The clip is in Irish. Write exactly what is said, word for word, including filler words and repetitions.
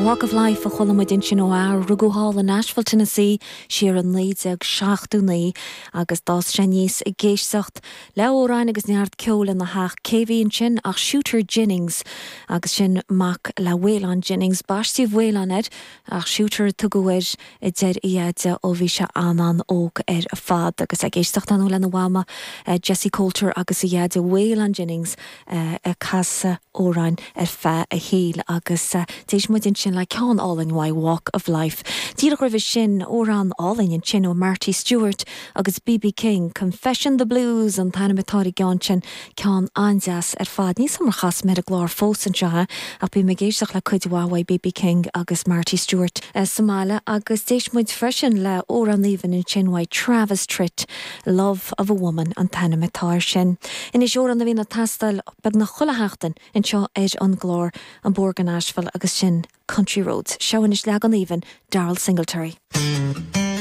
Walk of Life a chuala muid ansin ó fhear a rugadh thall in Nashville, Tennessee siar in naoi déag seachtó naoi agus d'fhás sé aníos ag éisteacht le hamhráin agus neart ceoil ina theach. Cé bhí ansin ach Shooter Jennings agus sin mac le Waylon Jennings baisteadh Waylon air ach Shooter a tugadh air a deir a dheaide ó bhí sé an-an-óg ar fad agus ag éisteacht ann lena mhama eh, Jessi Colter agus a dheaide Waylon Jennings eh, ag casadh amhráin ar feadh a shaoil agus eh, d'éist muid ansin le ceann álainn uaidh Walk of Life. Díreach roimhe sin amhrán álainn ansin ó Marty Stuart agus BB King, Confession the Blues an t-ainm atá ar an gceann sin ceann an-deas ar fad. Ní mar chas mé a glór fós anseo ach bím ag éisteacht le cuid mhaith BB King agus Marty Stuart eh, sa mbaile agus d'éist muid freisin le amhrán aoibhinn ansin uaidh Travis Tritt, Love of a Woman an t-ainm atá air sin. Anois amhrán a bhíonn ag teastáil beagnach chuile sheachtain anseo ar an gclár An Bóthar go Nashville agus sin Country Roads. Seo anois leagan aoibhinn Daryle Singletary.